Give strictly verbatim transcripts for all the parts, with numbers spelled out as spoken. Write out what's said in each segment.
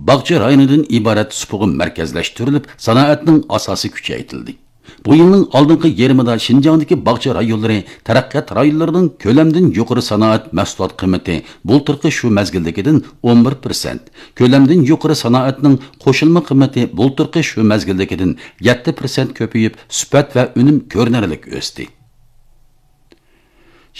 باغچە رايونىدىن ئىبارەت سۇپىغا مەركەزلەشتۈرۈلۈپ، سانائەتنىڭ ئاساسى كۈچەيتىلدى. بۇ يىلنىڭ ئالدىنقى يېرىمىدا شىنجاڭدىكى باغچە رايونلىرى تەرەققىيات رايونلىرىنىڭ كۆلەمدىن يۇقىرى سانائەت مەھسۇلات قىممىتى بۇلتۇرقى شۇ مەزگىلدىكىدىن ئون بىر پىرسەنت، كۆلەمدىن يۇقىرى سانائەتنىڭ قوشۇلما قىممىتى بۇلتۇرقى شۇ مەزگىلدىكىدىن يەتتە پىرسەنت كۆپىيىپ، سۈپەت ۋە ئۈنۈم كۆرۈنەرلىك ئۆستى.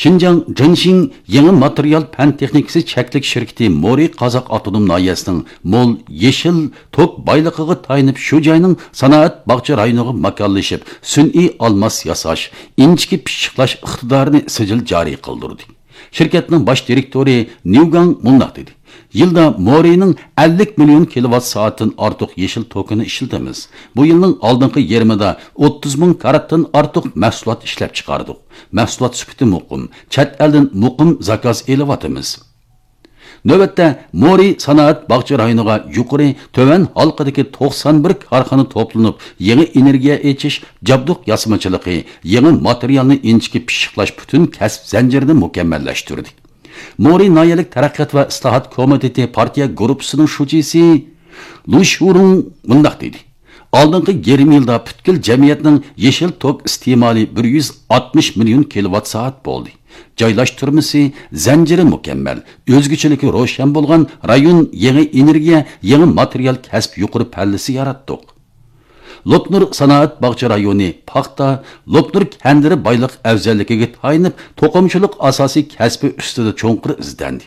شىنجاڭ جېنشىڭ يېڭى ماتېرىيال پەن تېخنىكىسى چەكلىك شىركىتى مورى قازاق ئاپتونوم ناھىيەسىنىڭ مول يېشىل توك بايلىقىغا تايىنىپ، شۇ جاينىڭ سانائەت باغچە رايونىغا ماكانلىشىپ، سۈنئىي ئالماس ياساش، ئىنچىكە پىششىقلاش ئىقتىدارىنى سىجىل جارى قىلدۇردى. شىركەتنىڭ باش دىرېكتورى نيۇگاڭ مۇنداق دېدى: يىلدا مورىنىڭ ئەللىك مىليون كىلوۋات سائەتتىن ئارتۇق يېشىل توكىنى ئىشلىتىمىز. بۇ يىلنىڭ ئالدىنقى يېرىمىدا ئوتتۇز مىڭ كاراتتىن ئارتۇق مەھسۇلات ئىشلەپ چىقاردۇق. مەھسۇلات سۈپىتى مۇقىم، چەت ئەلدىن مۇقىم زاكاز ئېلىۋاتىمىز. نۆۋەتتە، مورى سانائەت باغچە رايونىغا يۇقىرى، تۆۋەن ھالقىدىكى توقسان بىر كارخانا توپلىنىپ، يېڭى ئېنېرگىيە ئېچىش، جابدۇق ياسىمىچىلىقى، يېڭى ماتېرىيالنى ئىنچىكە پىششىقلاش پۈتۈن كەسىپ زەنجىرىنى مۇكەممەللەشتۈردى. مورى ناھىيەلىك تەرەققىيات ۋە ئىسلاھات كومىتېتى پارتىيە گۇرۇپپىسىنىڭ شۇجىسى لۇ شۇرۇڭ مۇنداق دېدى: ئالدىنقى يېرىم يىلدا پۈتكۈل جەمئىيەتنىڭ يېشىل توك ئىستېمالى بىر يۈز ئاتمىش مىليون كىلوۋات سائەت بولدى. جايلاشتۇرمىسى زەنجىرى مۇكەممەل، ئۆزگىچىلىكى روشەن بولغان رايون يېڭى ئېنېرگىيە، يېڭى ماتېرىيال كەسىپ يۇقىرى پەللىسى ياراتتۇق. لوپنۇر سانائەت باغچە رايونى پاختا، لوپنۇر كەندىرى بايلىق ئەۋزەللىكىگە تايىنىپ، توقۇمىچىلىق ئاساسىي كەسپى ئۈستىدە چوڭقۇر ئىزدەندى.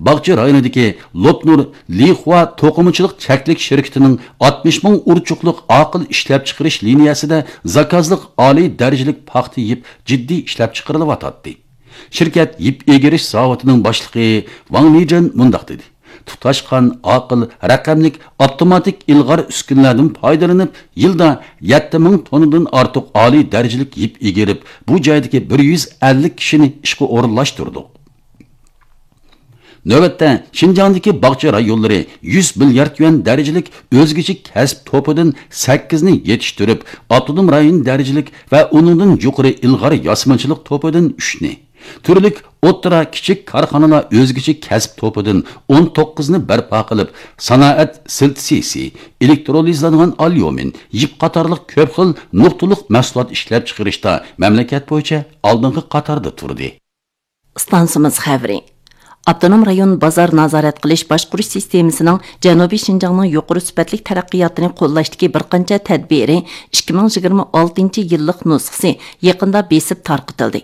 باغچە رايونىدىكى لوپنۇر لىخۇا توقۇمىچىلىق چەكلىك شىركىتىنىڭ ئاتمىش مىڭ ئۇرچۇقلۇق ئاقىل ئىشلەپچىقىرىش لىنىيەسىدە زاكازلىق ئالىي دەرىجىلىك پاختا يىپ جىددىي ئىشلەپچىقىرىلىۋاتاتتى. شىركەت يىپ ئېگىرىش زاۋۇتىنىڭ باشلىقى ۋاڭ لىجېن مۇنداق دېدى: تۇتاشقان، ئاقىل، رەقەملىك، ئاپتوماتىك ئىلغار ئۈسكۈنىلەردىن پايدىلىنىپ، يىلدا يەتتە مىڭ توننىدىن ئارتۇق ئالىي دەرىجىلىك يىپ ئېگىرىپ، بۇ جايدىكى بىر يۈز ئەللىك كىشىنى ئىشقا ئورۇنلاشتۇردۇق. نۆۋەتتە، شىنجاڭدىكى باغچە رايونلىرى يۈز مىليارد يۈەن دەرىجىلىك ئۆزگىچە كەسىپ توپىدىن سەككىزنى يېتىشتۈرۈپ، ئاپتونوم رايون دەرىجىلىك ۋە ئۇنىڭدىن يۇقىرى ئىلغار ياسىمىچىلىق توپىدىن ئۈچنى، تۈرلۈك ئوتتۇرا، كىچىك كارخانىلار ئۆزگىچە كەسىپ توپىدىن ئون توققۇزنى بەرپا قىلىپ، سانائەت سىلتسىسى، ئېلېكترولىزلانغان ئاليۇمىن، يىپ قاتارلىق كۆپ خىل نۇقتىلىق مەھسۇلات ئىشلەپچىقىرىشتا مەملىكەت بويىچە ئالدىنقى قاتاردا تۇردى. ئىستانسىمىز خەۋىرى. ئاپتونوم رايون بازار نازارەت قىلىش باشقۇرۇش سىستېمىسىنىڭ جەنۇبىي شىنجاڭنىڭ يۇقىرى سۈپەتلىك تەرەققىياتىنى قوللاشتىكى بىر قانچە تەدبىرى ئىككى مىڭ يىگىرمە ئالتىنچى يىللىق نۇسخىسى يېقىندا بېسىپ تارقىتىلدى.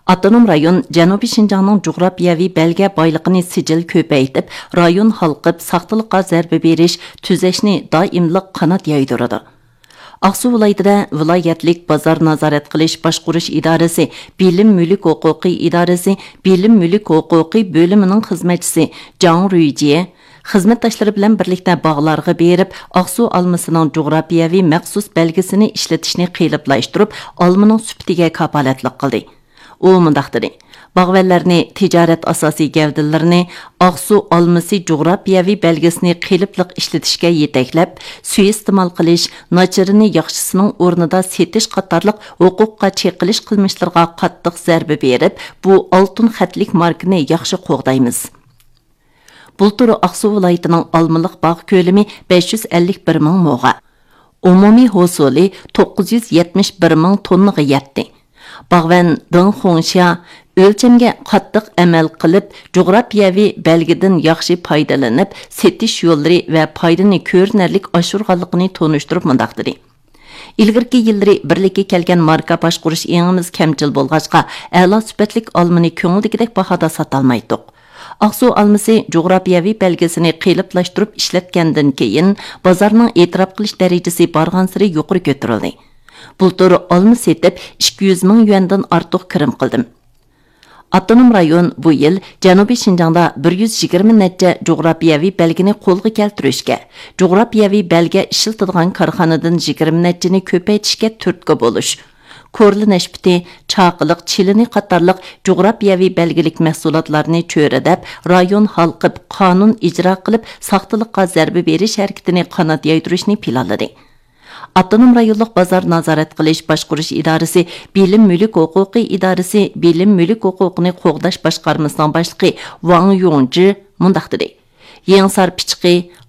ئاپتونوم رايون جەنۇبىي شىنجاڭنىڭ جۇغراپىيەۋى بەلگە بايلىقىنى سىجىل كۆپەيتىپ، رايون ھالقىپ، ساختىلىققا زەربە بېرىش، تۈزەشنى دائىملىق قانات يايدۇرىدۇ. ئاقسۇ ۋىلايىتىدە ۋىلايەتلىك بازار نازارەت قىلىش باشقۇرۇش ئىدارىسى، بىلىم مۈلۈك ھوقۇقى ئىدارىسى، بىلىم مۈلۈك ھوقۇقى بۆلۈمىنىڭ خىزمەتچىسى جاڭ رۇيجيې خىزمەتداشلىرى بىلەن بىرلىكتە باغلارغا بېرىپ، ئاقسۇ ئالمىسىنىڭ جۇغراپىيەۋى مەخسۇس بەلگىسىنى ئىشلىتىشنى قېلىپلاشتۇرۇپ، ئالمىنىڭ سۈپىتىگە كاپالەتلىك قىلدى. ئۇ مۇنداق دېدى: باغۋەنلەرنى تىجارەت ئاساسىي گەۋدىلىرىنى ئاقسۇ ئالمىسى جۇغراپىيەۋى بەلگىسىنى قېلىپلىق ئىشلىتىشكە يېتەكلەپ، سۇيىئىستېمال قىلىش، ناچىرىنى ياخشىسىنىڭ ئورنىدا سېتىش قاتارلىق ھوقۇققا چېقىلىش قىلمىشلىرىغا قاتتىق زەربە بېرىپ، بۇ ئالتۇن خەتلىك ماركىنى ياخشى قوغدايمىز. بۇلتۇر ئاقسۇ ۋىلايىتىنىڭ ئالمىلىق باغ كۆلىمى بەش يۈز ئەللىك بىر مىڭ موغا، ئومۇمىي ھوسۇلى توققۇز يۈز يەتمىش بىر مىڭ توننىغا يەتتى. باغۋەن دېڭ خۇڭشيا ئۆلچەمگە قاتتىق ئەمەل قىلىپ، جۇغراپىيەۋى بەلگىدىن ياخشى پايدىلىنىپ، سېتىش يوللىرى ۋە پايدىنى كۆرۈنەرلىك ئاشۇرغانلىقىنى تونۇشتۇرۇپ مۇنداق دېدى: ئىلگىرىكى يىللىرى بىرلىككە كەلگەن ماركا باشقۇرۇش ئېڭىمىز كەمچىل بولغاچقا، ئەلا سۈپەتلىك ئالمىنى كۆڭۈلدىكىدەك باھادا ساتالمايتتۇق. ئاقسۇ ئالمىسى جۇغراپىيەۋى بەلگىسىنى قېلىپلاشتۇرۇپ ئىشلەتكەندىن كېيىن، بازارنىڭ ئېتىراپ قىلىش دەرىجىسى بارغانسېرى يۇقىرى كۆتۈرۈلدى. بۇلتۇر ئالما سېتىپ، ئىككى يۈز مىڭ يۈەندىن ئارتۇق كىرىم قىلدىم. ئاپتونوم رايون بۇ يىل جەنۇبىي شىنجاڭدا بىر يۈز يىگىرمە نەچچە جۇغراپىيەۋى بەلگىنى قولغا كەلتۈرۈشكە، جۇغراپىيەۋى بەلگە ئىشلىتىدىغان كارخانىدىن يىگىرمە نەچچىنى كۆپەيتىشكە تۈرتكە بولۇش، كورلا نەشپۈتى، چاقىلىق، چىلىنى قاتارلىق جۇغراپىيەۋى بەلگىلىك مەھسۇلاتلارنى چۆرىدەپ، رايون ھالقىپ، قانۇن ئىجرا قىلىپ، ساختىلىققا زەربە بېرىش ھەرىكىتىنى قانات يايدۇرۇشنى پىلانلىدى. ئاپتونوم رايونلۇق بازار نازارەت قىلىش باشقۇرۇش ئىدارىسى، بىلىم مۈلۈك ھوقۇقى ئىدارىسى، بىلىم مۈلۈك ھوقۇقىنى قوغداش باشقارمىسىنىڭ باشلىقى ۋاڭ يۇڭجى مۇنداق دېدى: يېڭىسار پىچىقى،